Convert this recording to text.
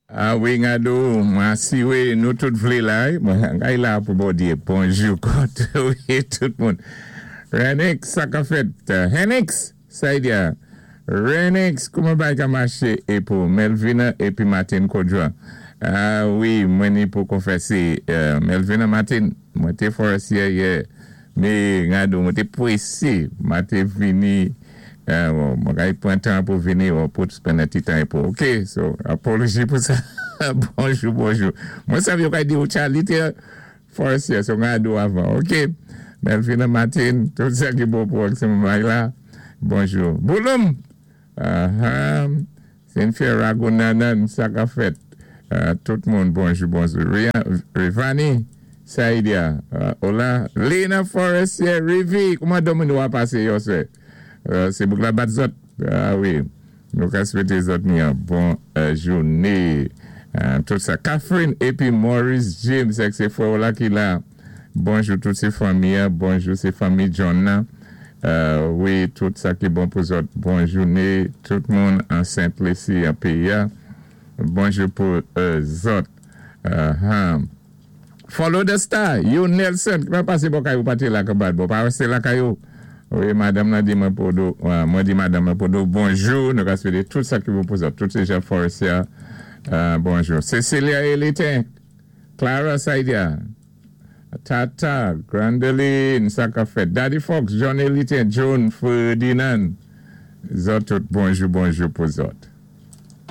A wi Ngadou, mwen asiwé nou tout vlé la wi, mwen kay la pou Bondyé. Bonjou koté ou yé tout moun. Renix sa ka fèt? Henix Saidia, Renix kouman bagay ka maché epou Melvina épi Martine Kodjoa? A wi mwen ni pou konfèsé Melvina Martine mwen té Forestier yè. Me Rado mwen te prese ma te vini mwen ka pran tan pou vini ou pou spend yon ti tan epo ok so apology pou sa bonjou bonjou mwen sav yo ka di ou Charly te Forestier so Rado avan ok Melvina Martin tout sa ki bon pou ak se mwen la bonjou Bouloum Ahaa Cynthia Ragunanan sa kap fèt tout moun bonjou bonjou Rivani Saidia hola Lina Forestier Rivi kouman domino a pase yòswè se bouk la bat zòt ah wi nou ka swete zòt ni yon bon joune tout sa Catherine epi Maurice James èk se frè w la ki la. Bonjou tout se fanmi an bonjou se fanmi John nan wi tout sa ki bon pou zòt bon joune tout moun an sent lesi an peyi a bonjou pou zòt han follow the star yo Nelson ki pa pase bò kay ou pa te la kanbad bon pa reste lakay ou wi madanm nan di mwen pou do mwen di madanm nan pou do bonjou nou ka swete tout sa ki bon pou zòt tout se jan Forestier bonjou Cecilia Elitin. Clara Saidia, Tata, Grandeline, sa kap fèt, Daddy Fox, John Elitin, Joan Ferdinand, zòt tout bonjou bonjou pou zòt.